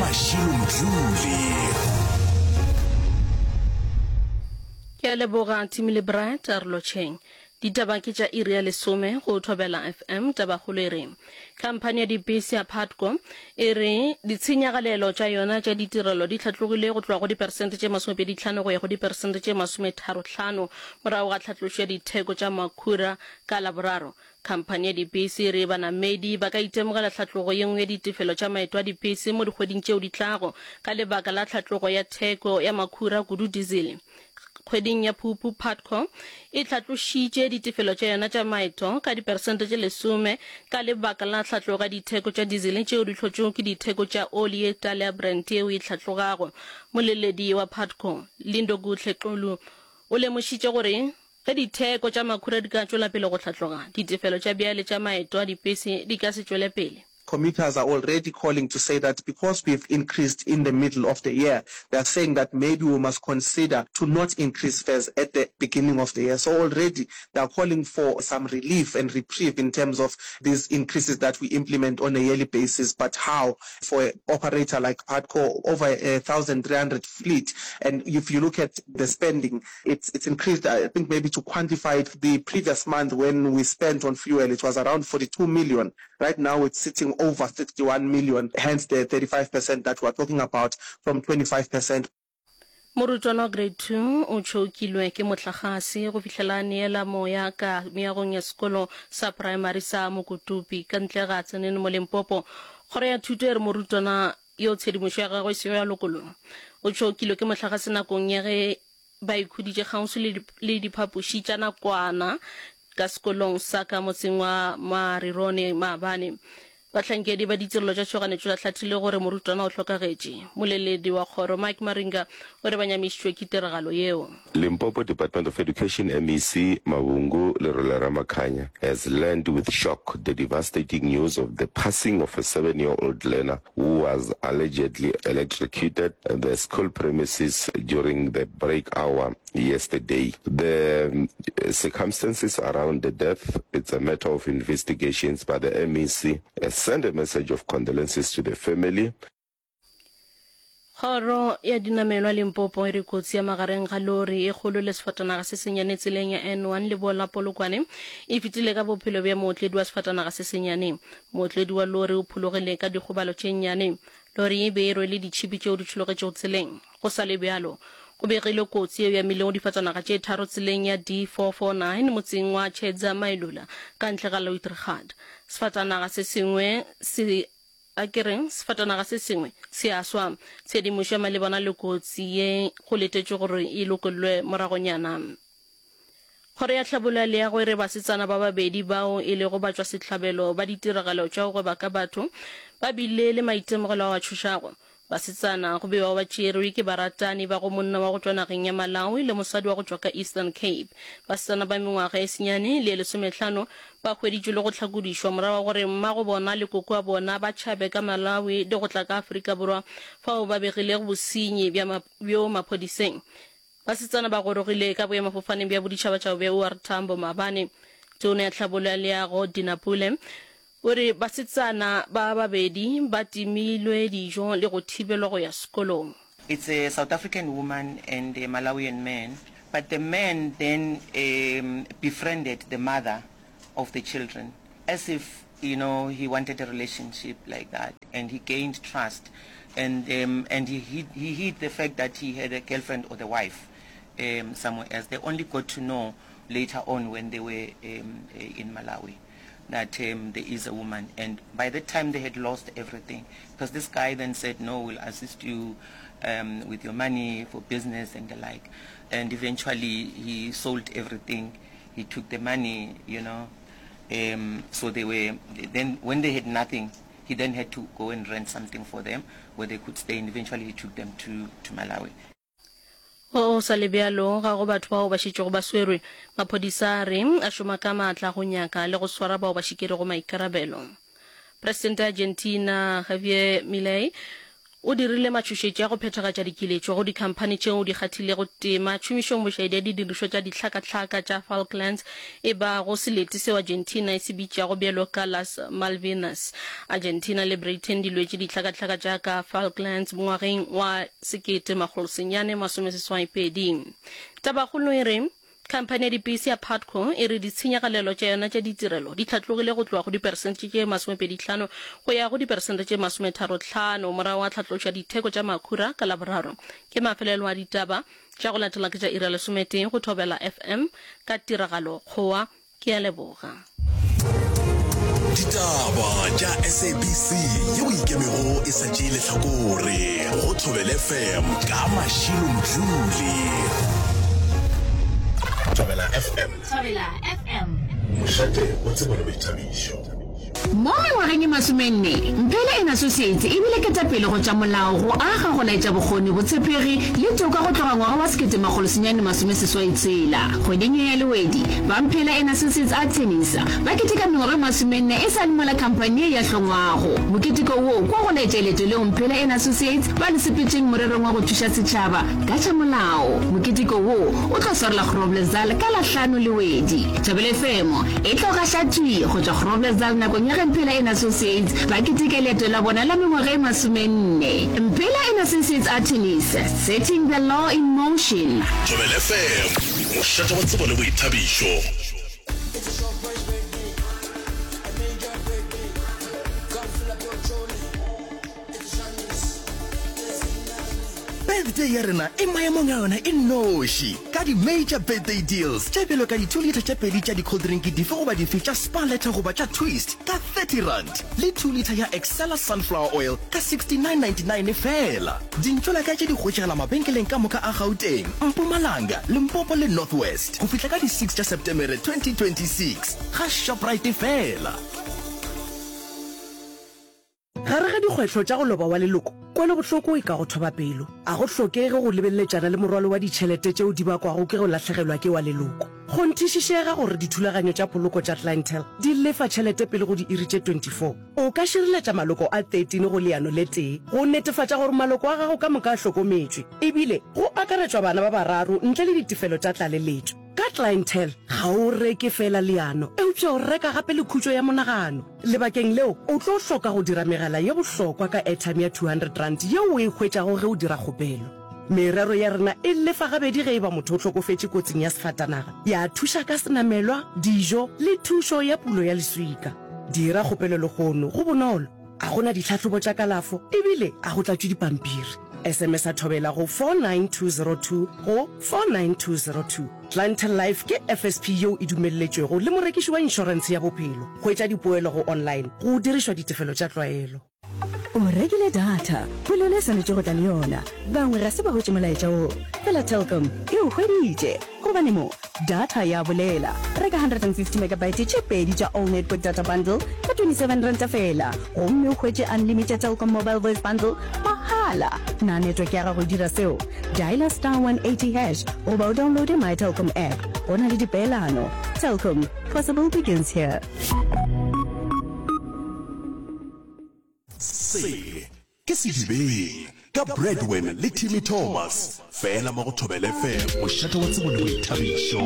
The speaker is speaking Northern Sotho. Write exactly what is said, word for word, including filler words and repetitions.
Mashilo Mdluli. Ke a leboga Timmy le Bright a re lotšheng. Ditaba ke tša iri ya lesome go Thobela F M. Tabakgolo e re khamphani ya dipese ya Putco e re ditshenyagalelo tša yona tša ditirelo di hlatlogile go tloga go diperesente tše masomepedi tlhano go ya go diperesente tše masometharo hlano morago ga tlhatlošo ya ditheko tša makhura ka Laboraro. Khamphani ya dipese e re banamedi ba ka itemogela tlhatlogo ye nngwe ya ditefelo tša maeto a dipese mo dikgweding tšeo di tlago ka lebaka la tlhatlogo ya theko ya makhura, kudu diesel. Kgweding ya Phupu, Putco e hlatlošitše ditefelo tša yona tša maeto ka diperesente tše lesome ka lebaka la tlhatlogo ya ditheko tša diesel tšeo di hlotšwego ke ditheko tša oli ye tala ya Brent yeo e hlatlogago. Moleledi wa Putco, Lindokuhle Xulu, o lemošitše gore ge ditheko tša makhura di ka tšwela pele go hlatloga, ditefelo tša bjale tša maeto a dipese di ka se tšwele pele. Commuters are already calling to say that because we've increased in the middle of the year, they are saying that maybe we must consider to not increase fares at the beginning of the year. So already they are calling for some relief and reprieve in terms of these increases that we implement on a yearly basis. But how? For an operator like Putco, over a thousand three hundred fleet, and if you look at the spending, it's, it's increased. I think maybe to quantify it, the previous month when we spent on fuel, it was around forty-two million. Right now it's sitting over sixty-one million, hence the thirty-five percent that we're talking about from twenty-five percent. Morutwana wa Grade two o tšhokilwe ke mohlagase go fihlela a neela moya ka meagong ya sekolo sa praemari sa Mokotopi ka ntle ga Tzaneen mo Limpopo. Kgoro ya Thuto e re morutwana yo tshedimošo ya gagwe e sego ya lokollwa o tšhokilwe ke mohlagase nakong ya ge ba ikhuditše kgauswi le diphapoši tša nakwana ka sekolong sa ka motseng wa Marirone maabane. Bahlankedi ba ditirelo tša tšhoganetšo ba hlathile gore morutwana o hlokagetše. Moleledi wa kgoro Mike Maringa o re ba nyamišitšwe ke tiragalo yeo. Limpopo Department of Education M E C Mavhungu Lerole-Ramakhanya has learned with shock the devastating news of the passing of a seven-year-old learner who was allegedly electrocuted at the school premises during the break hour yesterday. The um, circumstances around the death, it's a matter of investigations, but the M E C has sent a message of condolences to the family. Kgoro ya dinamelwa Limpopo e re kotsi ya magareng ga lori e kgolo le sefatanaga se senyane tseleng ya N one leboa la Polokwane e fetile ka bophelo bja mootledi wa sefatanaga se senyane. Mootledi wa lori o phologile ka dikgobalo tše nnyane. Lori e be e rwele ditšhipi tšeo di tšhologetšego tseleng. Go sa le bjalo, go begilwe kotsi yeo e amilego difatanaga tše tharo tseleng ya D four four nine motseng wa Tshedza Mailula ka ntle ga Louitrigat. Sefatanaga se sengwe se a ke reng sefatanaga se sengwe se a swa. Tshedimošo ya malebana le kotsi ye go letetšwe gore e lokollwe moragonyana. Kgoro ya Tlhabollo ya Leago e re basetsana ba babedi bao e lego batšwasehlabelo ba ditiragalo tša go gweba ka batho ba bile le maitemogelo ao a tšhošago. Basetsana go bewa ba tšerwe ke baratani ba go monna wa go tšwa nageng ya Malawi le mosadi wa go tšwa ka Eastern Cape. Basetsana ba mengwaga e senyane le e lesomehlano ba hweditšwe le go hlakodišwa morago ga gore mmago bona le koko wa bona ba tšhabe ka Malawi le go tla ka Afrika Borwa fao ba begilego bosenyi bja bjo maphodiseng. Basetsana ba gorogile ka boemafofaneng bja boditšhabatšhaba bja O R Tambo maabane. Tona ya Tlhabollo ya Leago Dina Pule o re basetsana ba babedi ba timilwe dijo le go thibelwa go ya sekolong. It's a South African woman and a Malawian man, but the man then um, befriended the mother of the children as if, you know, he wanted a relationship like that, and he gained trust, and um, and he hid, he hid the fact that he had a girlfriend or the wife um, somewhere else. They only got to know later on when they were um, in Malawi that um, there is a woman, and by that time they had lost everything, because this guy then said, no, we'll assist you um, with your money for business and the like, and eventually he sold everything. He took the money, you know, um, so they were, then when they had nothing, he then had to go and rent something for them where they could stay, and eventually he took them to, to Malawi. Go sa le bjalo, ga go batho bao ba šetšego ba swerwe. Maphodisa a re a šoma ka maatla go nyaka le go swara bao ba šikerego maikarabelo. Presidente ya Argentina Javier Milei o dirile matšhošetši a go phethagatša dikiletšo go dikhamphani tšeo di kgathilego tema tšhomišong bošaedi ya didirišwa tša dihlakahlaka tša Falklands, e bago selete seo Argentina e se bitšago bjalo ka Las Malvinas. Argentina le Britain di lwetše dihlakahlaka tša ka Falklands ngwageng wa sekete makgolo senyane masome seswai pedi. Tabakgolo e re, Khamphani ya dipese ya Putco e re ditshenyagalelo tša yona tša ditirelo di hlatlogile go tloga go diperesente tše masomepedi-hlano go ya go diperesente tše masometharo-hlano morago ga tlhatlošo ya ditheko tša makhura ka Laboraro. Ke mafelelo a ditaba tša go latela ke tša iri ya lesometee go Thobela F M ka tiragalo Kgowa. Ke a leboga. Ditaba tša S A B C yeo ikemego e sa tšee lehlakore go Thobela F M ka Mashilo Mdluli. Thobela F M. Thobela F M. Mošate wa tsebo le boithabišo. Mo mengwageng e masomenne, Mphele and Associates e bile ketapele go tša molao, go aga, go laetša bokgoni, botshepegi le toka go tloga ngwaga wa sekete makgolo senyane masome seswai tshela. Kgweding ye ya Lewedi, ba Mphele and Associates Attorneys ba keteka mengwaga e masomenne e sa le mola khamphani ye ya hlongwago. Moketeko wo kwa go laetša leeto leo Mphele and Associates ba le sepetšeng morerong wa go thuša setšhaba ka tša molao. Moketeko wo o tlo swarelwa Groblersdal ka la hlano Lewedi. Thobela F M e tlo gaša thwi go tšwa Groblersdal nakong ya ge Mphela and Associates ba keteka leeto la bona la mengwaga e masomenne. Mphela and Associates Attorneys, setting the law in motion. Thobela F M, mošate wa tsebo le boithabišo. Birthday ya rena e maemong a yona e nnoši ka di-major birthday deals tše bjalo ka di-two litre tše pedi tša di-cold drink dife goba dife tša Spar Letter goba tša Twist ka thirty rand le two litre ya Excella sunflower oil ka sixty-nine ninety-nine feela. Dintšolaka tše di hwetšagala mabenkeleng ka moka a Gauteng, Mpumalanga, Limpopo le North West go fihla ka di six tša Setemere twenty twenty-six ga Shoprite feela. Gare ga dikgwetlho tša go loba wa leloko, kwelobohloko e ka go thoba pelo. A go hlokege go lebeleletšana le morwalo wa ditšhelete tšeo di bakwago ke go lahlegelwa ke wa leloko. Kgonthišišega gore dithulaganyo tša poloko tša Clientele di lefa tšhelete pele go diiri tše twenty-four. O ka šireletša maloko a thirteen go leano le tee go netefatša gore maloko a gago ka moka a hlokometšwe, ebile go akaretšwa bana ba bararo ntle le ditefelo tša tlaleletšo. Ka Clientele, ga o reke feela leano, eupša o reka gape le khutšo ya monagano. Lebakeng leo, o tlo hloka go dira megala ye bohlokwa ka airtime ya two hundred rand yeo o e hwetšago ge o dira kgopelo. Merero ya rena e lefa gabedi ge e ba motho o hlokofetše kotsing ya sefatanaga, ya thuša ka senamelwa, dijo le thušo ya pulo ya leswika. Dira kgopelo lehono, go bonolo, a go na ditlhahlobo tša kalafo ebile a go tlatšwe dipampiri. S M S a Thobela go four nine two zero two go four nine two zero two. Clientele Life ke F S P yeo e dumelletšwego le morekiši wa inšorentshe ya bophelo. Hwetša dipoelo go online go dirišwa ditefelo tša tlwaelo. O rekile data, polelo e swanetše go tla le yona. Bangwe ga se ba hwetše molaetša wo, fela Telkom e o hweditše. Gobane mo, data ya bolela. Reka hundred and fifty megabyte tše pedi tša All Network Data Bundle ka twenty seven ranta fela, gomme o hwetše unlimited Telkom Mobile Voice Bundle mahala. Na network ya gago e dira seo? Dialer star one eighty hash goba o downloade My Telkom app. Go na le dipeelano. Telkom, possible begins here. Se ke Sedibeng ka Bradwin le Timmy Thomas, fela mo go Thobela F M, mošate wa tsebo le boithabišo.